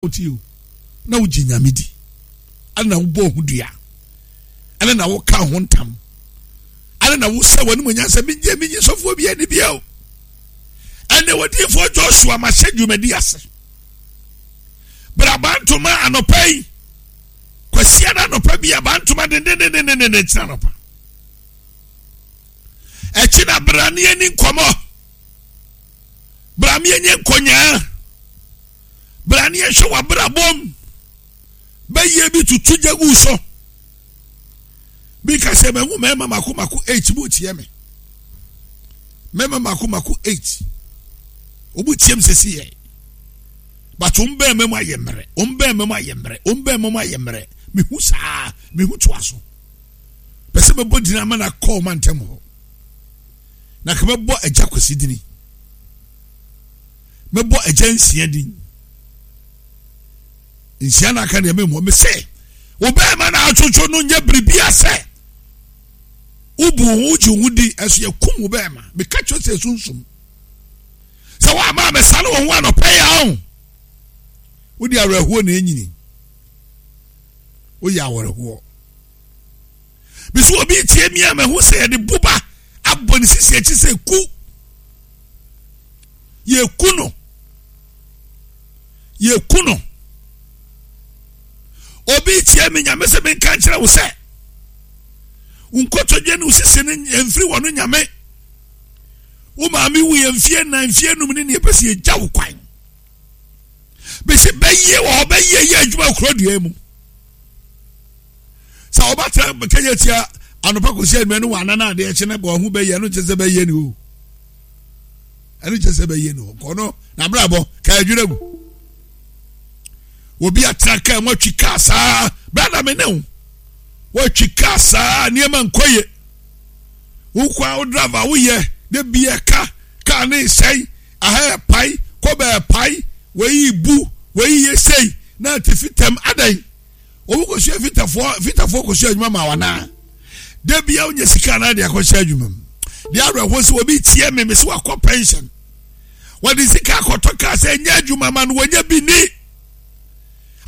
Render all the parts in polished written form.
Wotie o, na wogye Nyame di, ɛna na wobɔ ho dua, ɛna na woka ho ntam, ɛna na wosɛ w'anim nyansa, menye menye sɔfoɔ bi ani bia o. Ɛnɛ wɔdiifoɔ Joshua mahyɛ dwumadi ase. Braba ntoma anɔpa yi, kwasia no anɔpa bi aba ntoma dendendendenden kyerɛ anɔpa. Ɛkyi na bra ne ani nkɔmmɔ. Bra me yɛnyɛ nkɔnyaa. Bra ne yɛhwɛ w'abrabɔm. Bɛyɛ bi tutu gya gu so. Bi ka sɛ mahu mmarima mako mako eight mu tie me. Mmarima mako mako eight. Wɔn tie me sɛsi yɛ. But wɔn bɛn mɛmu ayɛ mmerɛ. Wɔn bɛn mɛmu ayɛ mmerɛ. Wɔn bɛn mɛmu ayɛ mmerɛ. Mehu saa. Mehu toa so. Pɛ sɛ mɛbɔ gyina ama na kɔɔ ma ntɛm hɔ. Na ka mɛbɔ agya kwasi dini. Mɛbɔ agya nsia din. Nsia na aka deɛ memmɔ. Me sɛ, wo bɛrima na atwotwo no nyɛ biribi asɛ. Wobu wo ho wogye wo ho di ɛso yɛkum wo bɛrima. Meka kyerɛ sɛ sunsum. Sɛ woama mɛsa ne wo ho anɔpɛ yɛ ho. Wode awerɛhoɔ na ɛnyini. Woyɛ awerɛhoɔ. Mesi obi tie mi a mahu sɛ yɛde boba abɔ ne sisi akyi sɛ ku. Yɛku no. Yɛku no. Obi tie mi nyame sɛ menka nkyerɛ wo sɛ wo nkotodwe ne wo sisi no mfiri wɔ no nyame. Wo maame wu yɛ mfie nan mfie num ne neɛ pɛ sɛ yɛgya wo kwan. Bɛsi bɛyie wɔ hɔ bɛyie yɛ adwuma kuro dua mu. sɛ ɔbɛtena kɛnyɛ tia anɔpa kɔsi anwummerɛ no wɔana no adeɛ kye no bɔ ho bɛyɛ ɛno nkyɛ sɛ bɛyɛ ne o ɛno nkyɛ sɛ bɛyɛ ne o kɔ no n'abrabɔ ka adwira gu obi atena kaa mu atwi kaa saa brada me ne wo wɔatwi kaa saa nneɛma nkɔ ye wokɔ a wo driver woyɛ de bi ɛka kaa ne nsɛn aha ɛpae kɔbɛ ɛpae wɔyi bu wɔyi yɛ sei na atifi tɛm adan Wɔn kɔsua fitafoɔ fitafoɔ kɔsua adwuma ma wɔn anaa? Da bia wonya sika anaa de akɔhyɛ adwuma mu. Deɛ awerɛhoɔ sɛ obi tie me me sɛ wakɔ pension. Wɔde sika akɔtɔ kaa sɛ ɛnyɛ adwuma ma no wɔnya bi ni.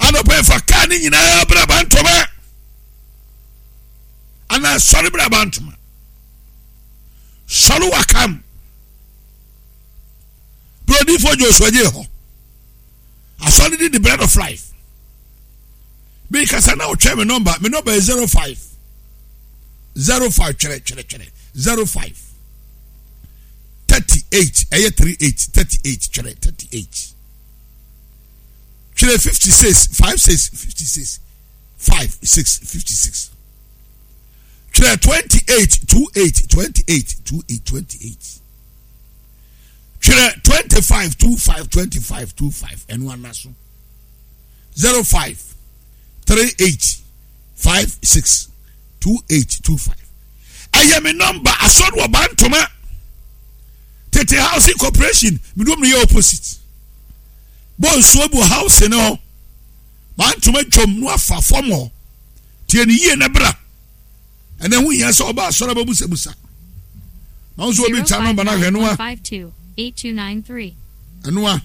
Anɔpɛ fa kaa ne nyinaa bra bantoma. Anaa sɔre bra bantoma. Sɔre wakam. Brodifoɔ Joshua gye hɔ. Asɔre di the bread of life. Mi kasa na ɔtwɛn mi nɔmba mi nɔmba yɛ 05 05 twɛrɛ twɛrɛ twɛrɛ 05 38 ɛyɛ 38 38 twɛrɛ 38 twɛrɛ 56 56 56 5 6 56 twɛrɛ 28 28 28 28 28 twerɛ 25 25 25 25 ɛno ana so 05 38 56 28 25 ɛyɛ me nɔmba asɔre wɔ bantoma tete housing corporation medom no yɛ opposite bɔ nsuo bu house no hɔ bantoma dwom no afa fam hɔ tie ne yie na bra ɛnna ɛho hia sɛ ɔba asɔre abɛbusabusa na nso obi kya nɔmba no ahwɛ ɛnoa ɛnoa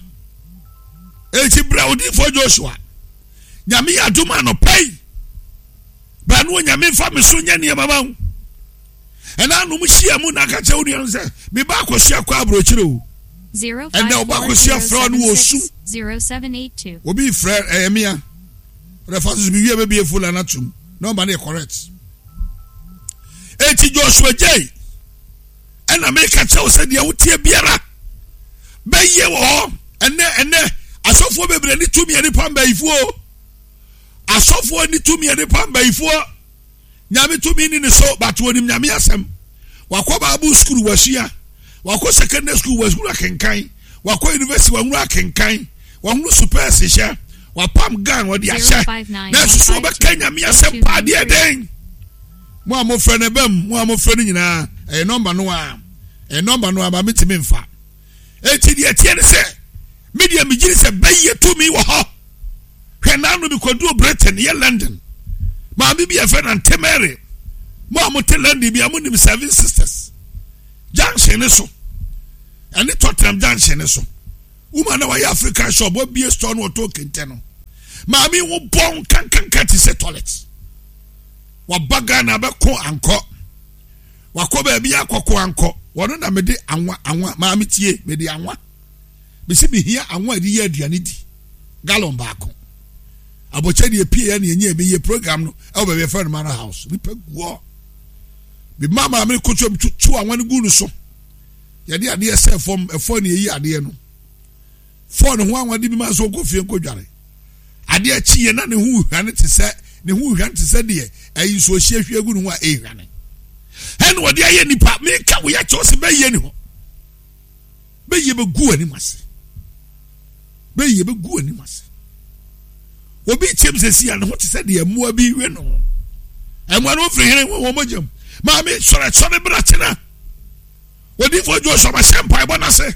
eti bra odiifoɔ Joshua nyame yɛ adom anɔpa yi bra no onyame nfa me so nyɛ nneɛma ma wo ɛna anom hyia mu na aka kyerɛ wo nua no sɛ meba akɔsua kɔ aburokyire o ɛnna ɔba akɔsua frɛ no wɔ su obi frɛ ɛyɛ mea ɔdɛ fa so so mewie bɛbie fo la no atom nɔmba no yɛ correct eti Joshua Jay ɛna meka kyerɛ wo sɛ deɛ woteɛ biara bɛyɛ wɔ hɔ ɛnɛ ɛnɛ asɔfoɔ bebree ne tumi ɛne pam bayifoɔ asɔfoɔ ne tumi ɛne pam bayifoɔ nyame tumi ne ne so but wɔnim nyame asɛm wakɔ bible school wasua wakɔ secondary school wasua akenkan wakɔ university wahunu akenkan wahunu supɛɛse hyɛ wapam gan ɔde ahyɛ na nso wɔbɛka nyame asɛm paa deɛ dɛn mo a mofrɛ no bam mo a mofrɛ no nyinaa ɛyɛ nɔmba no a ɛyɛ nɔmba no a ma metumi mfa eti deɛ teɛ ne sɛ me deɛ megyiri sɛ bɛyɛ tumi wɔ hɔ hwɛ n'ano bi kɔduru Britain yɛ London maame bi yɛfrɛ no Auntie Mary mo a mote London bi a monim Seven Sisters junction ne so ɛne Tottenham junction ne so woman na wayɛ African shop wabie store no wɔtɔn kente no. Maame wo bɔn kankanka te sɛ toilet. Waba Ghana bɛko ankɔ. Wakɔ baabi akɔko ankɔ. Wɔno na mede anwa anwa maame tie mede anwa. Mesi mehia anwa a yɛde yɛ aduane di gallon baako. Abɔkyɛ deɛ pie yɛ ne ɛnyɛ ɛbɛyɛ program no ɛwɔ baabi ɛfɛ no Manor House. Nipa guɔ. Mema maame no koto mu tutu anwa no gu no so. Yɛde adeɛ sɛ fam ɛfɔ ne ɛyi adeɛ no. Fɔ ne ho anwa de bi ma nso nkɔ fie nkɔ dware. Adeɛ kyi yɛ na ne ho hwane te sɛ ne ho hwane te sɛ deɛ ɛyi nsuo hyia hwie gu ne ho a ɛhwane. Ɛna wɔde ayɛ nipa meka wo yɛ kyɛw sɛ bɛyɛ ne ho. Bɛyɛ bɛgu anim ase. Bɛyɛ bɛgu anim ase. Obi kyɛm sɛ si a ne ho te sɛ deɛ mmoa bi we no. Mmoa no firi hene wɔn mogya mu. Maame sɔrɔ sɔre bra kyena. Odiifoɔ Joshua ma hyɛ mpaebɔ no ase.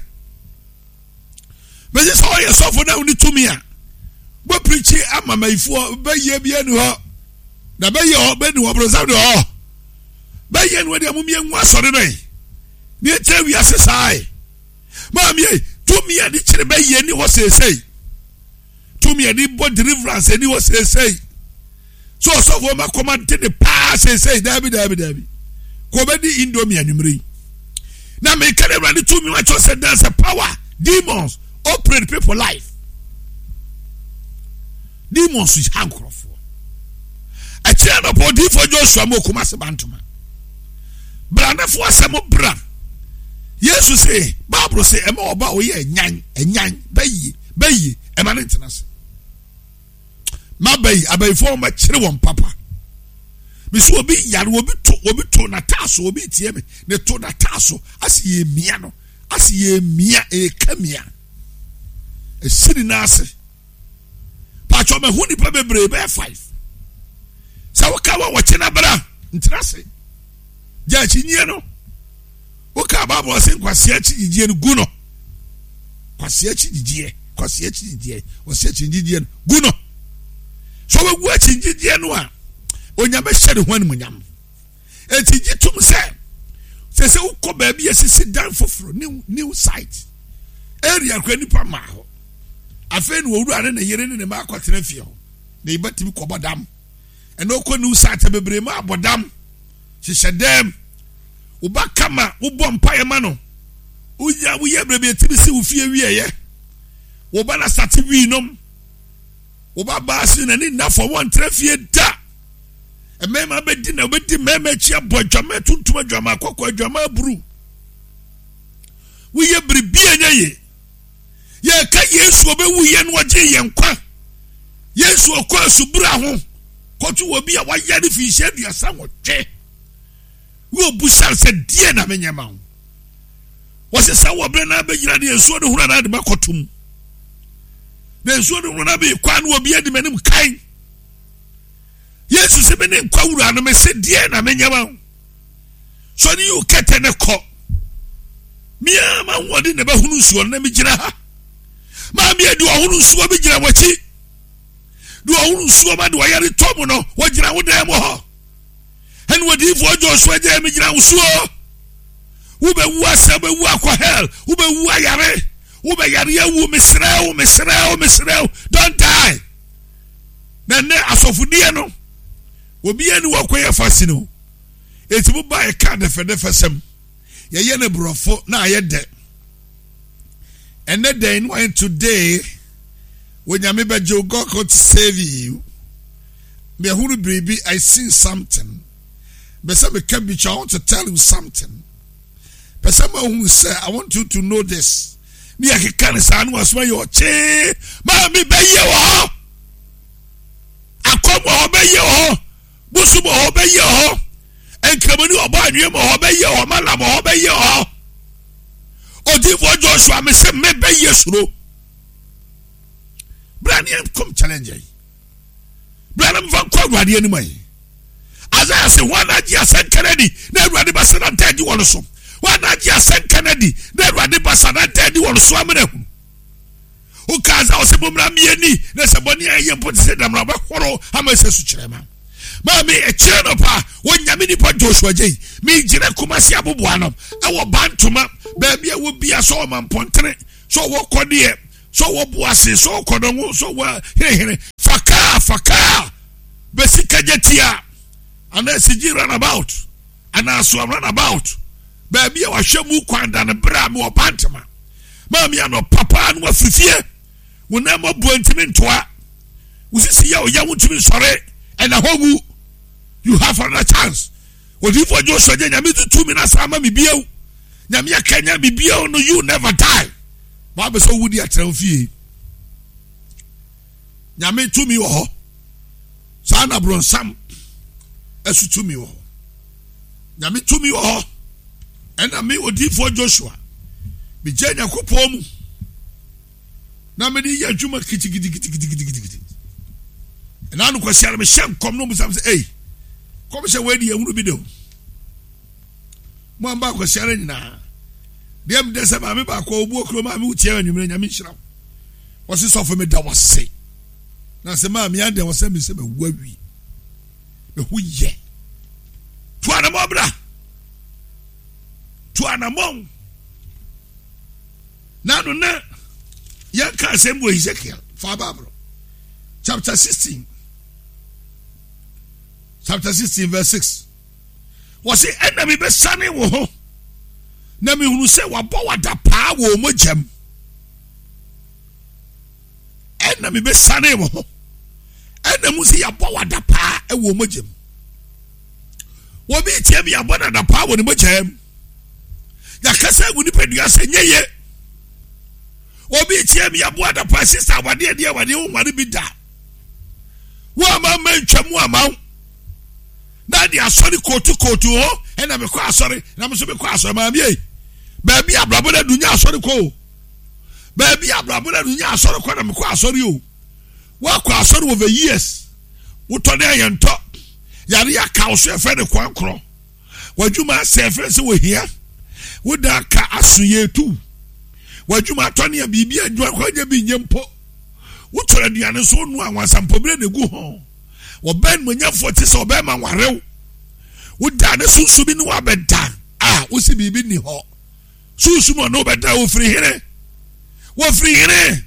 Mese sɛ ɔyɛ sɔfo na wone tumi a wobɛpirikyi ama mayifoɔ bɛyɛ bi ani hɔ na bɛyɛ hɔ bɛni hɔ borɔnsam de hɔ bɛyɛ no deɛ momyɛ ngu asɔre no yi ne ɛkyerɛ wiase saa yi maame tumi a de kyerɛ bɛyɛ ni hɔ seesei tumi a de bɔ deliverance ni hɔ seesei so ɔsɔfoɔ ma kɔma de ne paa seesei daabi daabi daabi kò bɛdi indomie anwummerɛ yi na meka ne awurade tumi wa kyerɛ sɛ there's a power demons operate people life demons ha nkurɔfoɔ ɛkyerɛ nɔpɔ odiifoɔ joshua mu okuma se bantoma branefoɔ asɛm bra yesu se bible se ɛma ɔba ɔyɛ ɛnyan ɛnyan bɛyie bɛyie ɛma ne ntena se M'abayi, abayifoɔ wɔn bɛkyere wɔn papa. Mesi obi yare, obi to, obi to n'ataa so, obi tie me, ne to n'ataa so, asi yɛ mia no, asi yɛ mia, eka mia. Esi ne nan ase. Paatwa mahu nipa bebree bɛyɛ five. Sɛ woka wɔ wɔkye na bra, ntena ase. Gya akyinnyeɛ no. Woka Bible ɔse nkwasea akyi gyigyeɛ no gu no. Kwasea akyi gyigyeɛ, kwasea akyi gyigyeɛ, ɔse akyi gyigyeɛ no gu no. So wɔgu akyi gyigyeɛ no a, onyame hyɛ ne ho animuonyam. Eti gye tom sɛ sɛ sɛ wokɔ baabi a sisi dan foforɔ new new site area kura nipa maa hɔ. Afei na owura ne ne yere ne ne mma akɔtena fie hɔ. Na yɛbɛtumi kɔbɔ dam. Ɛna ɔkɔ new site bebree mu abɔ dam. Hyehyɛ dɛm. Wo ba kama, wobɔ mpaeɛ ma no. Wonya woyɛ berɛ bi ɛtumi si wo fie wieɛ. Wo ba na sate wii nom. Wo ba baa se n'ani nna fam wɔntra fie da. Mmarima bɛdi na wobɛdi mmarima akyi abɔ adwama tuntum adwama akɔkɔ adwama aburu. Woyɛ biribi a ɛnyɛ ye. Yɛka Yesu ɔbɛwu yɛ no ɔgye yɛn nkwa. Yesu ɔkɔ asubura ho kɔto wɔ bi a wayare finhyia 38. Wo obusa sɛ deɛ na menyɛ ma wo. Wɔsɛ sɛ wɔ berɛ no abɛgyina deɛ nsuo no hunu anaa de makɔto mu. Na nsuo no hunu no abɛyɛ kwan no obi adi m'anim kan. Yesu sɛ me ne nkwa wura no mese deɛ na menyɛ ma wo. Sɛ ɔne yi wo kɛtɛ ne kɔ. Mea ma ahoɔden na ɛbɛhono nsuo no na megyina ha. Maame adi ɔhono nsuo bi gyina w'akyi. Deɛ ɔhono nsuo ma deɛ ɔyare tɔ mu no wɔgyina wo dan mu hɔ. Ɛne odiyifoɔ Joshua gya mi gyina wo soɔ. Wobɛwu asɛ, wobɛwu akɔ hell, wobɛwu ayare, wobɛyare awu, mesrɛ wo, mesrɛ wo, mesrɛ wo, don't die. Na nnɛ asɔfodie no, obiara ni wɔkɔ yɛ fa sini o. Eti mo ba ɛka dɛfɛdɛfɛ sɛm, yɛyɛ ne borɔfo na ayɛ dɛ. Ɛnɛ dɛn no ayɛ today, Onyame bɛgye wo, God could save you. Mehunu biribi, I seen something. Bɛ sɛ meka bi kyɛ, I want to tell you something. Pɛ sɛ mahunu sɛ, I want you to know this. Ne yɛkeka ne saa ne wasoma yɛ ɔkyee. Maame bɛyɛ wɔ hɔ. Akɔm wɔ hɔ bɛyɛ wɔ hɔ. Bosom wɔ hɔ bɛyɛ wɔ hɔ. Nkramoni ɔbɔ anwea wɔ hɔ bɛyɛ wɔ hɔ. Malam wɔ hɔ bɛyɛ wɔ hɔ. Odiyifoɔ Joshua me sɛ mebɛyɛ suro. Bra ne yɛnkɔm challenge yi. Bra na mfa nkɔ Awurade anim ayi. Isaiah sɛ wɔn agye asɛnka no adi na Awurade basa na da adi wɔn so. Wɔn agye asɛnka no adi na Awurade basa na da adi wɔn so amena hunu. Wokaa sɛ ɔsɛ bɔmmra mmieni na sɛ bɔne a ɛyɛ mpo te sɛ damena wobɛhoro ama ɛsɛ so kyerɛ ma. Maame ɛkyerɛ no pa wɔnyame nipa Joshua gyei megyina Kumasi aboboa no ɛwɔ Bantoma baabi a wɔ bia sɛ ɔma mpɔntene sɛ ɔwɔ kɔdeɛ sɛ ɔwɔ boase sɛ ɔkɔdɔngo sɛ ɔwɔ henehene fa. kaa fa kaa bɛsi kagya tia anaa sigyi runabout anaa asoa runabout baabi a wahwɛ mu kwan da no berɛ a mewɔ bantama maame anɔpa paa no wafiri fie wo nan mu abuo ntumi ntoa wo sisi yɛ ɔyɛ wo ntumi nsɔre ɛna hɔ wu you have another chance odiyifoɔ Joshua gye nyame tutu mi na saa ma mi bio nyame akanya mi bio no you never die wabɛ sɛ owu di atena wo fie nyame tumi wɔ hɔ saa na borɔnsam ɛso tumi wɔ hɔ nyame tumi wɔ hɔ ɛna me odiyifoɔ Joshua megye nyankopɔn mu na mede yɛ adwuma kitikitikitikitikitikiti ɛna ano kwasi ara mehyɛ nkɔm na ɔbisa me sɛ ei kɔm hyɛ wei de yɛhunu bi de o mo amba akwasi ara nyinaa deɛ medɛ sɛ maame baako a ɔbu okuro maame wotia anwummerɛ nyame nhyira wo wɔse sɔfo meda wase na sɛ maame adɛn wɔ sɛ me sɛ mawu awie meho yɛ to anamɔ bra to anamɔ na no na yɛnka asɛm wɔ Ezekiel fa Bible chapter 16 chapter 16 verse 6 wɔse ɛna mebɛsane wo ho na mehunu sɛ wabɔ wada paa wɔ mogyam ɛna mebɛsane wo ho ɛna mu sɛ yɛabɔ wada paa wɔ mogyam wɔbi tia bi yɛabɔ no ada paa wɔ ne mogyam yɛakasa agu nipadua sɛ nyɛ ye obi tie mi yɛbo adapa sista awadeɛ deɛ awadeɛ wo nware bi da wo ama ma ntwa mu ama wo na de asɔre kootu kootu hɔ ɛna mekɔ asɔre na me nso mekɔ asɔre maame ei baabi abrabɔ no adu nyɛ asɔre kɔ o baabi abrabɔ no adu nyɛ asɔre kɔ na mekɔ asɔre o woakɔ asɔre over years wotɔ ne ayɛntɔ yare aka wo so ɛfɛ ne kwan korɔ W'adwuma asɛe ɛfiri sɛ wɔhia wo da ka aso yɛ tu. W'adwuma atɔ nea biribi adwuma kɔ nyɛ bi nyɛ mpo. Wotɔrɔ aduane nso wonoa anwansampɔbire na egu ho. Wɔbɛn monyɛfoɔ te sɛ ɔbɛrima warew. Woda ne sunsun bi ne wabɛda a wosi biribi ni hɔ. Sunsun ɔne wobɛda wofiri hene. Wofiri hene.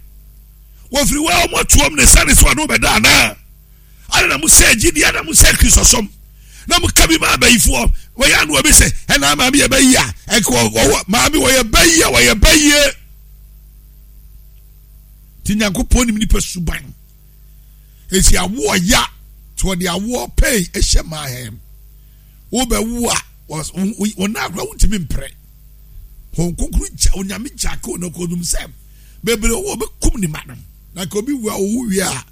Wofiri wa wɔn atuom ne sani so ɔne wobɛda anaa. Adɛn na mosɛe gyidie? Adɛn na mosɛe Kristosom? Na moka bi ma abayifoɔ. Wɔyɛ ano obi sɛ, ɛna maame yɛ bayi a, ɛnka wɔwɔ maame wɔyɛ bayi a wɔyɛ bayie. Ti Nyankopɔn nim nipa suban. Esi awoɔ ya, tí wɔde awoɔ pɛn ɛhyɛ maa hɛn. Wobɛwo a, wɔn nan akora wontumi mpere. Wɔn kronkron gya, onyame gya ka wɔn akɔdum sɛ bebree wɔ bɛkum ne ma no. Na ka obi wu a owu wie a,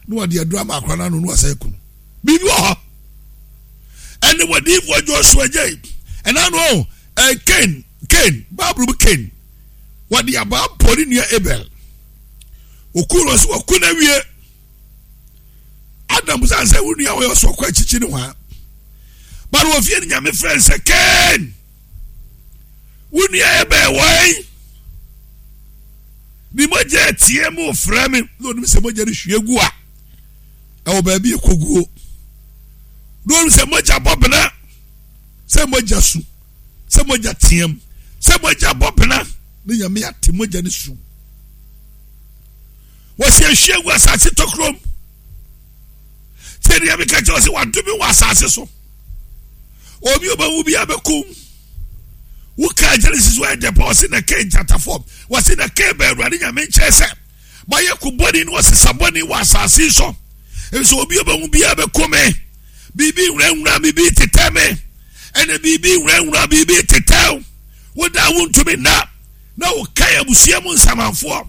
na wɔde aduru ama akora no ano na wɔasɛ aku no biribi wɔ hɔ ɛne wɔdiifoɔ Joshua gyei ɛna no ɛ Cain Cain Bible mu Cain wɔde abaa bɔ ne nua Abel oku no so wɔku no awie Adam sɛ sɛ wo nua wɔyɛ ɔsɔ kɔ akyikyi ne hɔ a bari wɔfie no nyame frɛ sɛ Cain wo nua Abel wɔn ne mogya atie mu frɛ me na onim sɛ mogya no hwie gu a ɛwɔ baabi ɛkɔguo na onim sɛ mogya bɔ bena sɛ mogya su sɛ mogya team sɛ mogya bɔ bena ne nyame ate mogya no su wɔsi ahwie gu asase tɔkurom sɛ deɛ meka kyerɛ sɛ wadome wɔ asase so obi ɔbɛwu bi abɛkum wokaa genesis wɔ ɛdɛ pa ɔse na kain gyatafoɔ wɔse na kain bɛ awurade nyame nkyɛn sɛ mayɛ ko bɔne ne ɔsesa bɔne wɔ asase so nso obi ɔbɛhu biara bɛko me biribi nwurawura biribi tetɛ me ɛna biribi nwurawura biribi tetɛw woda a wontumi nna na wokae abusua mu nsamanfoɔ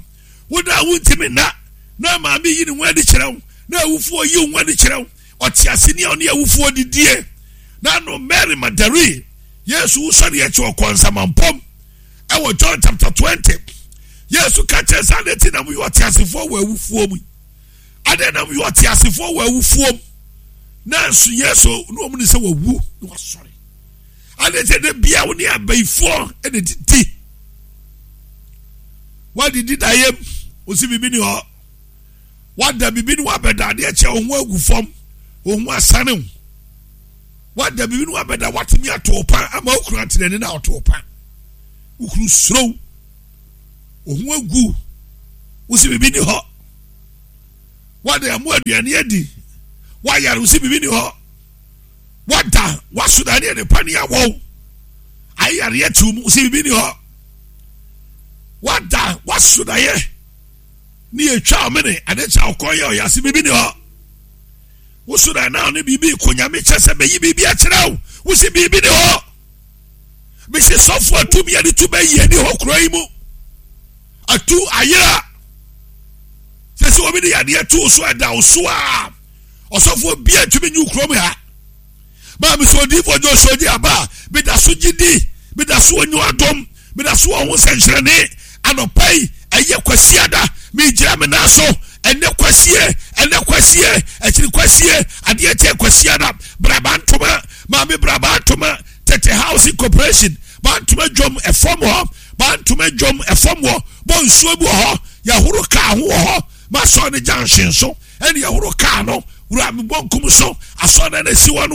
woda a wontumi nna na maame yi ne ho adi kyerɛ wo na awufoɔ yi wo ho adi kyerɛ wo ɔtease ni a ɔne awufoɔ didie na no Mary Magdalene Yesu wusɔre akyi ɔkɔ nsamampɔm ɛwɔ John chapter 20 Yesu ka kyerɛ sɛ adɛn ti na moyɛ ɔteasefoɔ wɔ awufoɔ mu adɛn na moyɛ ɔteasefoɔ wɔ awufoɔ mu nanso Yesu ne wɔn ne sɛ wawu na wasɔre adɛn ti na bia wo ne abayifoɔ ɛna didi wadidi dayɛm wosi biribi ni hɔ Wada biribi ne wabɛda adeɛ kyɛ wo ho agu fam, wo ho asane wo. Wada biribi ne wabɛda watumi ato wo pa ama wo kunu ate n'ani na ɔto wo pa. Wo kunu suro wo ho agu, wo si biribi ni hɔ. Wada ɛmo aduane adi. Wayare wo si biribi ni hɔ. Wada waso da ne adepa ne awɔw. Ayare atiw mu si biribi ni hɔ. Wada waso da yɛ ne yɛtwa ɔmene ade kyɛ ɔkɔ yɛ ɔyɛ ase biribi ni hɔ. Woso da na ɔne biribi kɔ nyame kyɛ sɛ bɛyi biribi akyerɛ wo. Wosi biribi ni hɔ. Mesi sɔfo atumi yɛde tu bɛyi ani hɔ kuro yi mu. Atu ayera. Sɛ sɛ obi de yadeɛ to so ɛda wo so a ɔsɔfoɔ bia ntumi nyi kurom ha. Maa mi sɛ odiifoɔ Joshua gye aba a meda so gye di meda so onyo adom meda so wɔ ho nsɛnkyerɛnne anɔpa yi ɛyɛ kwasiada megyina me nan so ɛnɛ kwasie ɛnɛ kwasie akyiri kwasie adeɛ kyɛ kwasiada braba ntoma maame braba ntoma tete house corporation bantoma dwom ɛfam hɔ Bantoma dwom ɛfam hɔ bɔ nsuo bi wɔ hɔ yɛhoro kaa ho wɔ hɔ ma asɔre no junction so ɛne yɛhoro kaa no wura me bɔ nkum so asɔre no na esi hɔ no.